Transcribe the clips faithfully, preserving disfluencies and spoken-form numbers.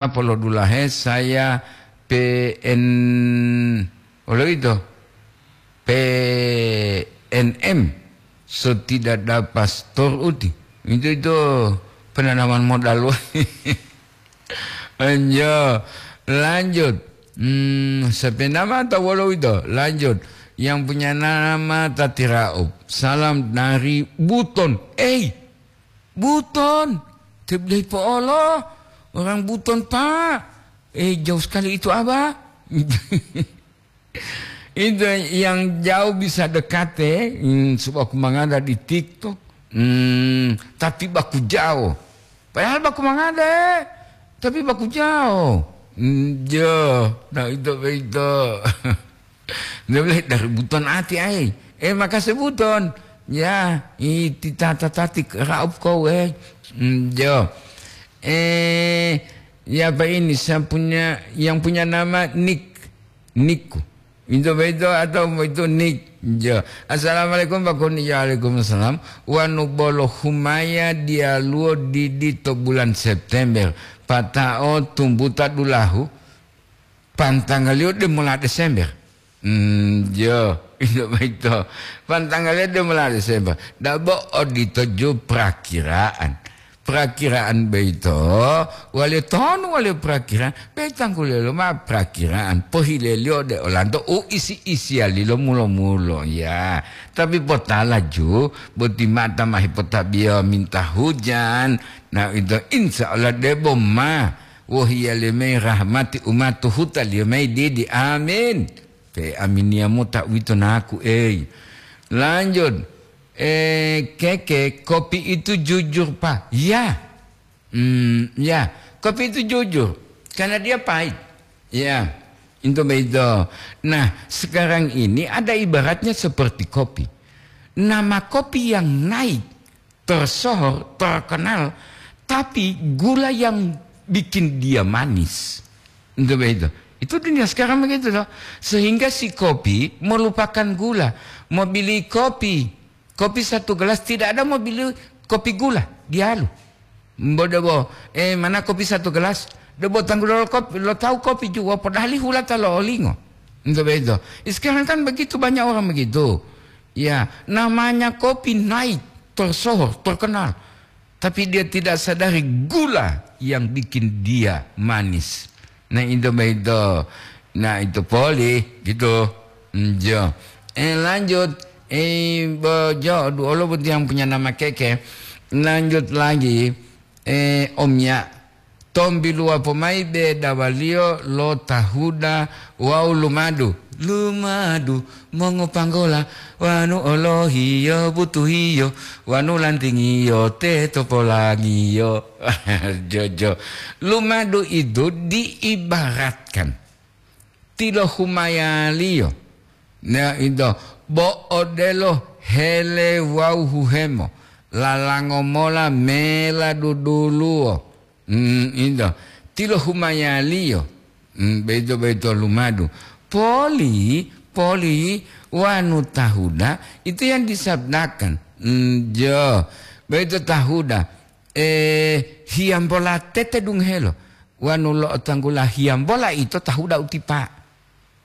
Polodulahe saya P N, olo ito, P N M, so tidak ada pastor uti. Itu, itu penanaman modal. Enjo, lanjut. Hmm, siapa nama atau wolo itu? Lanjut. Yang punya nama Tati Raup. Salam dari Buton. Eh, Buton. Tebelei po'olo. Orang Buton, Pak. Eh, jauh sekali itu, Abah. Itu yang jauh bisa dekat, eh. Hmm, sebab aku mangada di TikTok. Hmm, tapi baku jauh. Padahal baku mangada, eh. Tapi baku jauh. Hmm, jo, nah itu, itu. Dia bilang, "Dari Buton ati ai." Eh, makasih Buton. Ya, iti tata tatik raup kau, eh. Hmm, jo. Eh, ya apa ini? Saya punya, yang punya nama Nick. Niku. Itu beto atau itu Nick. Jo. Assalamualaikum Pak Kuni. Ya, waalaikumsalam. Wanu bolo humaya dialuwo didi to bulan September. Pata'o tumbuta dulahu. Pantangaliyo de mola Desember. Hmm, jo, itu beto. Pantangaliyo de mola Desember. Dabo odito ju prakiraan. Prakiraan beito, wale tonu wale prakiraan, betangkulelo ma prakiraan. Pohileliyo de olanto u isi-isiyalilo mulo-mulo, ya. Tapi potala ju, boti mata mahi potabiyo minta hujan. Nah, itu insya Allah debo ma. Wohiyaliyo mayi rahmati umatu hutaliyo mayi didi. Amin. Pe aminiya mota uwito naku, ei. Lanjut. Eh, Keke, kopi itu jujur, Pak. Ya. Hmm, ya. Kopi itu jujur. Karena dia pahit. Ya. Itu begitu. Nah, sekarang ini ada ibaratnya seperti kopi. Nama kopi yang naik tersohor, terkenal, tapi gula yang bikin dia manis. Itu begitu. Itu dunia sekarang begitu, toh. Sehingga si kopi melupakan gula. Mau beli kopi, kopi satu gelas, tidak ada mau beli kopi gula, dialu. Bo debo, eh, mana kopi satu gelas? Debo tanggulo kopi, lo tahu kopi juga, padahal hula ta lo olingo. Itu begitu. Sekarang kan begitu, banyak orang begitu. Ya, namanya kopi naik, tersohor, terkenal. Tapi dia tidak sadari gula yang bikin dia manis. Nah, itu begitu. Nah, itu poli, gitu. Njo. Eh, lanjut. Eh, bojo, duolo boti yang punya nama Keke. Lanjut lagi. Eh, Om Ya. Tombiluwa pomayi bedawaliyo lo tahuda wawu lumadu. Lumadu mongopanggola, wanu olohiyo butuhiyo, wanu lantingiyo teto polangiyo. Jojo. Lumadu itu diibaratkan tilohumayaliyo. Nah, ito, bo odelo hele wawu huhemo, lalango mola mela duduluwo. Mm, ito, tilohumayaliyo. Mm, beito-beito lumadu. Poli, poli, wanu tahuda, itu yang disabdakan. Mm, jo, beito tahuda. Eh, hiyambola tete dunghelo. Wanu lo'otanggula hiyambola ito tahuda utipa.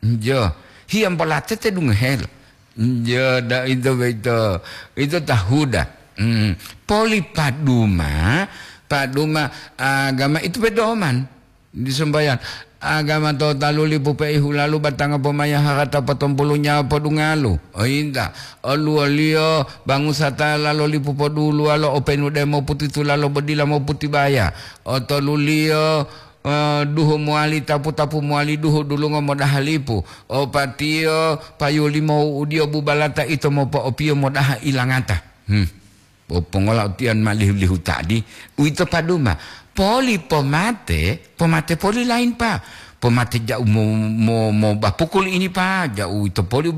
Njo, hiyambola tete dunghelo. Njo, da ito beito, ito tahuda. Hmm. Poli paduma, paduma agama itu pedoman. Di sembahyang. Agama to talu lipu peihu lalu batanga pomaya harata potompulu nyawa podungalu. Oyinta, oluwoliyo bangusa ta lalo lipu poduluwalo openu de moputitu lalo bodila moputibaya. Otoluliyo, eh, duhu mowali tapu-tapu mowali duhu dulungo modaha lipu. Opatiyo payu limo udiyo bubalata ito mopo'opiyo modaha ilangata. Hmm. Bo pongola utiyan ma lihu-lihu tadi, uwito paduma. Poli pomate, pomate poli lain, Pa. Pomate ja'u mo, mo, mo bapukul ini, Pa. Ja'u uwito poli.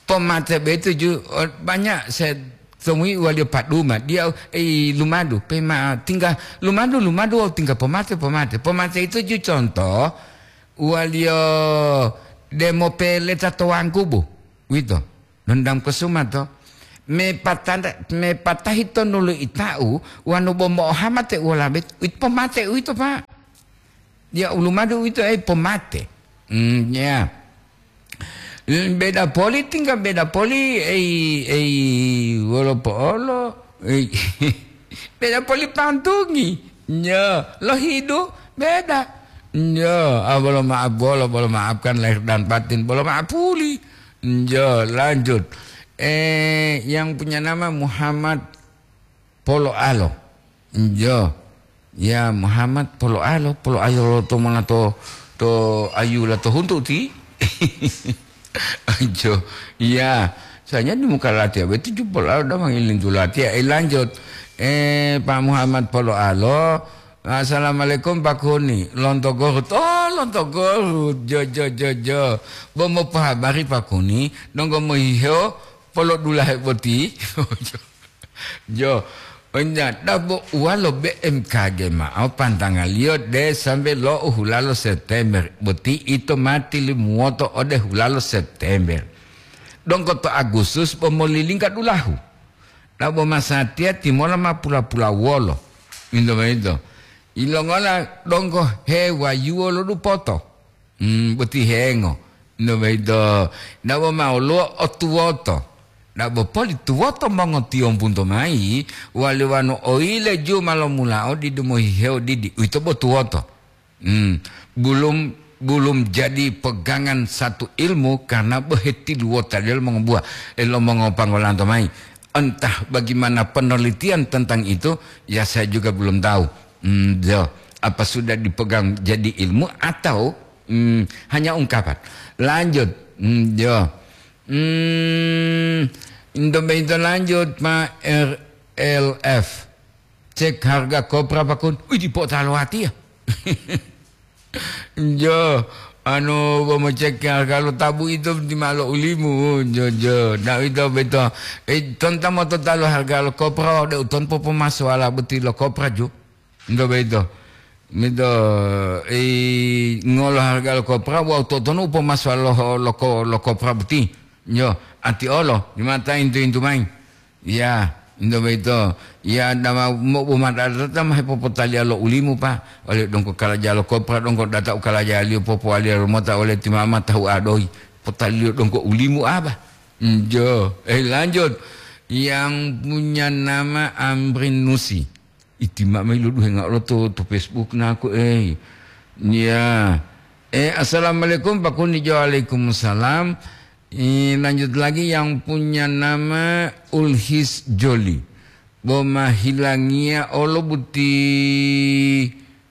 Pomate betu ju, o, banyak saya temui waliyo paduma. Dia, eh, lumadu, pe ma tinggal lumadu, lumadu, tinggal pomate, pomate. Pomate itu ju contoh, waliyo demo peleta to wangkubu. Uwito. Nondang Kesuma to. Me patanda, me patahi tonu lo ita'u, wanu bo mo'ohama te uwalabe, it-, pomate uwito, Pak. Ya, ulumadu uwito, eh, pomate. Hmm, ya. Beda poli, tinggal beda poli, ei, ei, wolo po'olo, ei, beda poli pantungi. Ya, lohidu, beda. Ya, ah, bolo maaf, bolo, bolo maafkan lahir dan batin, bolo maaf puli. Ya, lanjut. Eh, yang punya nama Muhammad Poloalo. Njo. Ya, Muhammad Poloalo, Poloalo to mona to, to ayu la to huntu ti. Anjo. Ya, saya di muka latihan betu ju Poloalo da mangilintu latihan. Eh, lanjut. Eh, Pak Muhammad Poloalo. Assalamualaikum Pak Kuni. Lonto Gorut. Oh, Lonto Gorut. Jo, jo, jo, jo. Bo mopohabari Pak Kuni, donggo mohihewo polodulahe boti. Jo, onya dabo uwalo B M K G ma'o pantangaliyo de sambe lo u hulalo September, boti ito mati limuwoto ode hulalo September. Donggo to Agustus bo molilingga dulahu. Dabo masatiya timola ma pula-pula wolo. Minto boyito. Ilongola donggo hewayuwo lo dupoto. Hmm, boti hengo. No boyito, dabo ma woluwo o tuwoto. Dabo poli tuwoto mongotiyombunto mayi, wali wanu oyile ju ma lomulao didu mohihewo didi, uwito bo tuwoto. Hmm, bulum, bulum jadi pegangan satu ilmu karena bo hetiluwota lelo mongobuwa, eh, lo mongopangolanto mayi. Entah bagaimana penelitian tentang itu, ya saya juga belum tahu. Hmm, jo. Apa sudah dipegang jadi ilmu atau Hmm, hanya ungkapan. Lanjut. Hmm, yo. Hmm, Indo Bento lanjut, Pak R L F. Cek harga kopra pakun. Wih, dipo talo hati ya. Jo, anu, bo mo cek harga lo tabu itu di malo ulimu. Jo, jo. Nah, itu betul. Eh, tonton mo to talo harga lo kopra, de uton popo maswala beti lo kopra ju. Nto boyito. Mito, i, ngolo harga lo kopra, wawu to'otonu u pomasowa lo, lo ko-, lo kopra boti. Yo, ati olo, dimata intu-intu mayi. Ya, nto boyito. Ya, dama mo-, bo madadata ma hepopotaliya lo ulimu, Pa. Ole dongko kalaja lo kopra, dongko data u kalajaliyo popowaliya lomota ole ti mama tahu adoyi. Potaliyo dongko ulimu aba. Njo, eh, lanjut. Yang punya nama Amrin Nusi. Iti ma'o mayi loduhenga olo to, to Facebook naku, eh. Ya. Eh, assalamualaikum, Pak Kuni. Waalaikumsalam. Eh, lanjut lagi yang punya nama Ulhis Joli. Bo mahilangiya olo buti,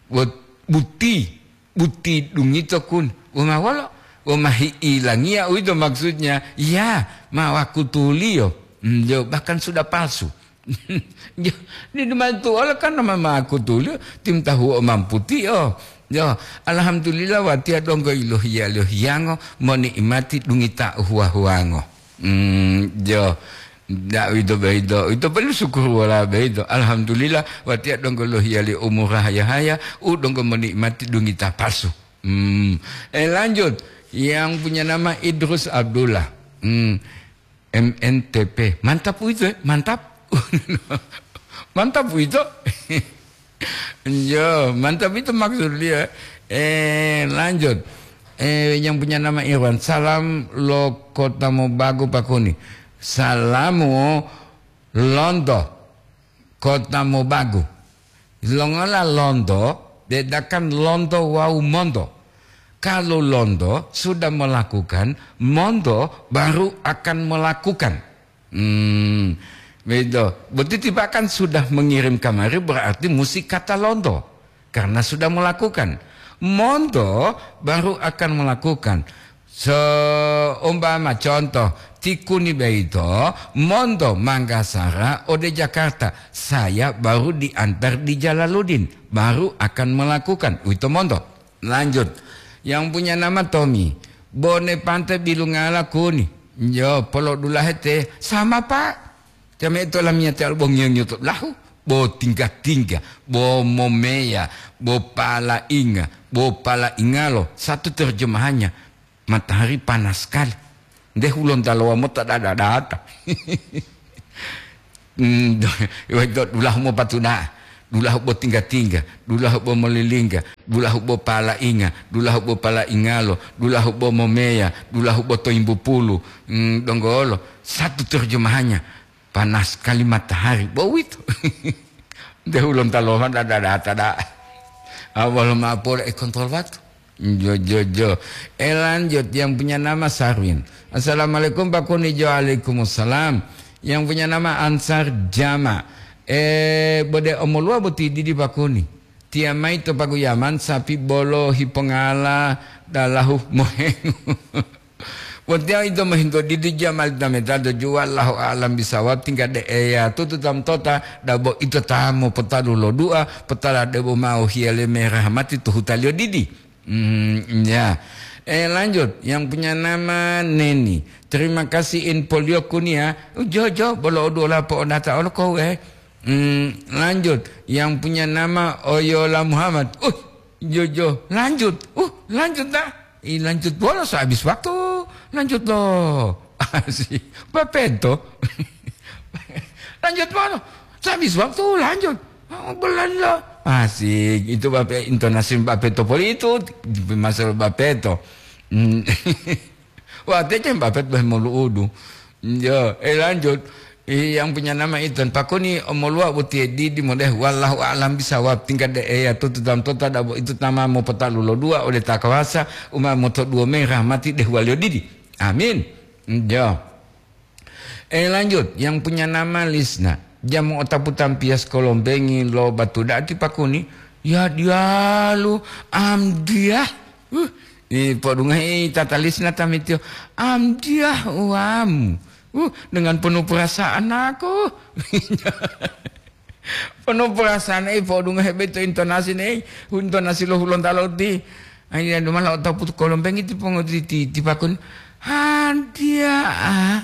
but-, buti, buti dungito kun. Bo ma wolo? Bo mahiilangiya uwito maksudnya. Ya, ma wakutuliyo. Hmm, jo, bahkan sudah palsu. Di dumantu olo kan nama makutuliyo, tim tahu o mamputi, oh. Yo, alhamdulillah, watiya donggo ilohiya-lohiyango, monikmati dungita huwa-huwango. Hmm, jo, ndak wito beito, ito perlu syukur wala beito. Alhamdulillah, watiya donggo lohiya li umur haya-haya, u donggo monikmati dungita palsu. Hmm, eh, lanjut, yang punya nama Idrus Abdullah. Hmm, M N T P. Mantap itu, eh? Mantap. Mantap itu. Yo, mantap itu maksud dia. Eh, lanjut. Eh, yang punya nama Irwan. Salam lo Kota Mobagu, Pak Kuni. Salamu lonto Kota Mobagu. Longola lonto, bedakan lonto wawu monto. Kalau lonto sudah melakukan, monto baru akan melakukan. Hmm, begitu. Berarti tiba kan sudah mengirim kamari, berarti mesti kata lonto. Karena sudah melakukan. Monto baru akan melakukan. Seumpama contoh, ti Kuni beito, monto Manggasara ode Jakarta. Saya baru diantar di Jalaluddin, baru akan melakukan. Uwito monto. Lanjut. Yang punya nama Tommy. Bone pante bilungala Kuni. Yo, polodulahe te. Sama, Pak. Teme to lamiyati alo bo ngiyo-ngiyo to lahu. Bo tingga-tingga. Bo momeya. Bo palainga. Bo palaingalo. Satu terjemahannya. Matahari panas sekali. Nde hulontalowa mota dada-data. Mm, do-, weto dulahu mopatuna'a, dulahu bo tingga-tingga, dulahu bo molilingga, dulahu bo palainga, dulahu bo palaingalo, dulahu bo momeya, dulahu bo toimbu pulu. Mm, donggolo, satu terjemahannya, panas sekali matahari, bo uwito. Nte hulonta loma da, da, da, da. Awal ma pole e kontrol waktu. Jo, jo, jo. E, lanjut, yang punya nama Sarwin. "Assalamualaikum, Pak Kuni." Jo, waalaikumsalam. Yang punya nama Ansar Jama. "E, bode omoluwa boti didi, Pak Kuni. Tiya mayi to paguyaman sapi bolo hipongala dalahu mohengu." Botiya ito mohinto didi Jama li tameta to juwa, Allahu a'lam bisawab, tingga de eya tutu tam tota, dabo ito ta mopotalu lo du'a, potala debo mao hiyale me rahmati to hutaliyo didi. Hmm, ya. Eh, lanjut, yang punya nama Neni. "Terima kasih infolio Kuni ya." Ujojo, bolo oduola po'odata olo kowe. Hmm, lanjut, yang punya nama Oyola Muhammad. Uh, jojo, lanjut. Uh, lanjut dah. Ih, lanjut bolo, so habis waktu. Lanjut lo. Asik. Bapeto. Lanjut bolo. So habis waktu, lanjut. Oh, belanda. Asik. Itu bape, intonasi Bapeto poli itu. Masalah Bapeto. Hmm. Wah, tece Bapeto bah molu'udu. Yo, eh, lanjut. Eh, yang punya nama itu, Pak Kuni, omoluwa botiye didi modeh, wallahu a'lam bisawab, tingkat de eya tutu tam tota dabo itu tama mopotalu lo du'a ode ta kawasa, uma moto duwo me rahmati deh waliyo didi. Amin. Yo. Eh, lanjut, yang punya nama Lisna. Jamu otapu tampiya sekolombengi lo batu da'ati Pak Kuni. Ya dialu, amdiah. Uh, i podungahi tata Lisna tamitiyo. Amdiah uamu. Uh, dengan penuh perasaan aku. Penuh perasaan, eh, podungahe beto intonasi nei, intonasi lo Hulontalo ti. Ai, ya, dumala otapu kolombengi ti pongo ti, ti, ti Pak Kuni. Hantia, ah,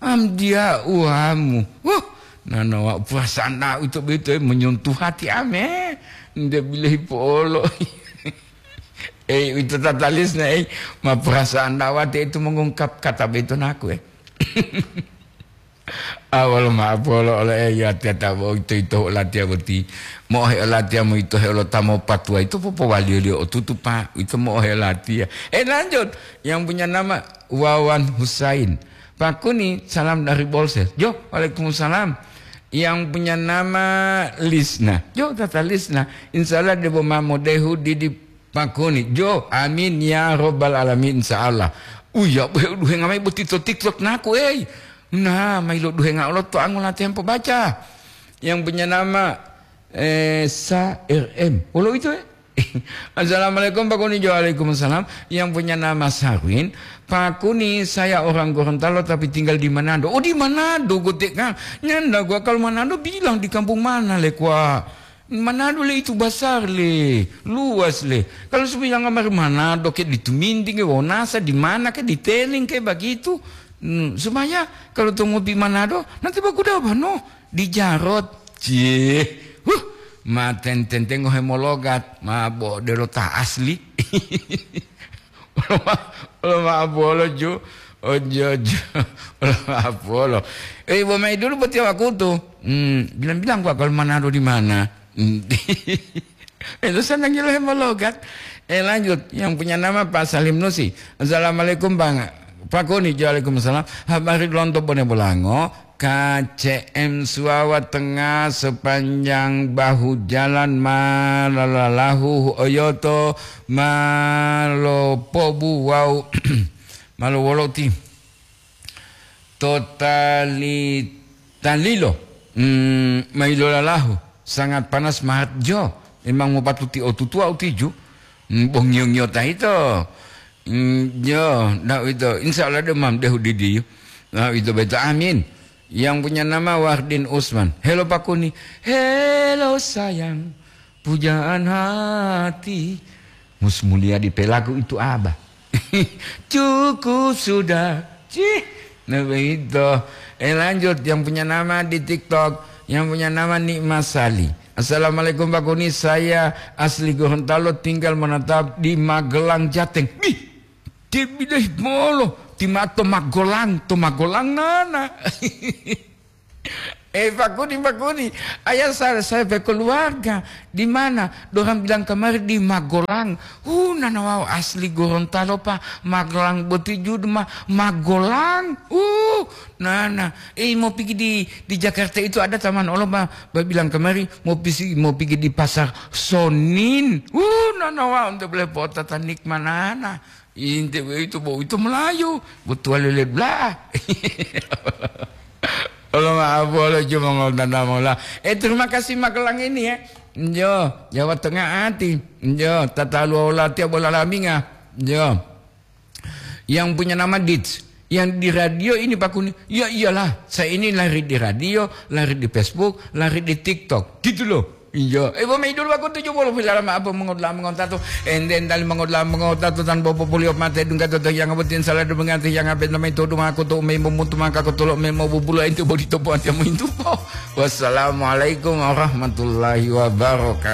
am dia uamu. Wah, nanawa perasaan na itu beto, eh, menyentuh hati ame. Nde bilehi polo. Eh, itu tata Lisna, eh, ma perasaan dawate itu mengungkap kata beto naku, eh. Awal ma'apolo ole eya tiyata bo ito, ito olatiya boti. Mo'ohe olatiya mo ito he olotamo patuwa ito popowaliyo-liyo otutu, Pak. Ito mo'ohe olatiya. Eh, lanjut. Yang punya nama Wawan Husain. Pak Kuni, salam dari Bolsel. Jo, waalaikumsalam. Yang punya nama Lisna. Jo, tata Lisna. Insya Allah debo ma modehu didi Pak Kuni. Jo, amin ya robbal alamin, insya Allah. Uya, bohe uduhenga mayi boti to TikTok naku, ei. Nah, mayi lo duhenga olo to angola tempo baca. Yang punya nama, eh, Sa R M. Wolo itu, eh? Assalamualaikum, Pak Kuni. Jo, waalaikumsalam. Yang punya nama Sarwin. Pak Kuni, saya orang Gorontalo tapi tinggal di Manado. Oh, di Manado, gotek, Kang. Nyanda gua kalau Manado bilang di kampung mana, le, kwa? Manado le itu basar le, luas le. Kalau supaya ngamar Manado ke di Tuminding ke Wonasa, di mana ke di Teling ke begitu. Hmm, supaya kalau to ngopi Manado, nanti baku dawa no, di Jarot. Cie, huh, ma ten-, tenteng ngohe mologat, ma bo delo ta asli. Olo ma-, olo ma abolo, ju. Ojo, ojo. Olo ma abolo. Eh, bo mai dulu boti wakutu. Hmm, bilang-bilang gua kalau Manado di mana. Hmm. Itu senang gila yang mologat. Eh, lanjut. Yang punya nama Pak Salim Nusi. "Assalamualaikum, Bang." Pak Kuni, "Waalaikumsalam. Habari lonto Bone Bolango?" K C M Suwawa Tengah sepanjang bahu jalan ma lalalahu oyoto ma lopobu wawu ma lowoloti to tali-, talilo, mm, ma ilolalahu sangat panas mahat jo. Memang mopatuti otutuwa utiju. Mm, bo ngiyo-ngiyota ito. Mm, yo, ndak uwito. Insya Allah, de mam dehu didiyu. Nah, uwito beto. Amin. Yang punya nama Wardin Usman. "Helo, Pak Kuni." "Helo, sayang. Pujaan hati." Mus mulia di pelaku itu, Abah. Cukup sudah. Cih. Nah, begitu. Eh, lanjut. Yang punya nama di TikTok. Yang punya nama Nikmat Sali. "Assalamualaikum, Pak Kuni. Saya asli Gorontalo, tinggal menetap di Magelang, Jateng." Bih, dia bilang, "Molo, timato Magelang, to Magelang nana." Eh, pakuni, pakuni. Ayah saya, saya pe keluarga. Di mana? Dorang bilang kemari di Magelang. Uh, nana wau asli Gorontalo, Pak. Magelang boti judma. Magelang. Uh, nana. Eh, mau pergi di, di Jakarta itu ada taman Allah, Pak. Ba bilang kemari, mau pisi, mau pergi di Pasar Sonin. Uh, nana wau, untuk boleh potatan nikmanana. Inte itu bo itu Melayu, betual lele bla. Allah maaf, Allah cuma ngol tanda mola. Eh, terima kasih Magelang ini ya. Yo, Jawa Tengah ati. Yo, tata luola tiap bola laminga. Yo. Yang punya nama Dits. Yang di radio ini Pak Kuni. Ya iyalah, saya ini lari di radio, lari di Facebook, lari di TikTok. Gitu loh. Iya, eh, bo mayi dulu aku tujuh puluh pilara ma apa mengodla mengotato. Enden dali mengodla mengotato tan bobo polio mate dungga toto yang abutin salah do mengati yang abe namai todo ma aku to mei memutu maka aku tolok mei mau bubulo ente bodi topo ati mau intupo. Wassalamualaikum warahmatullahi wabarakatuh.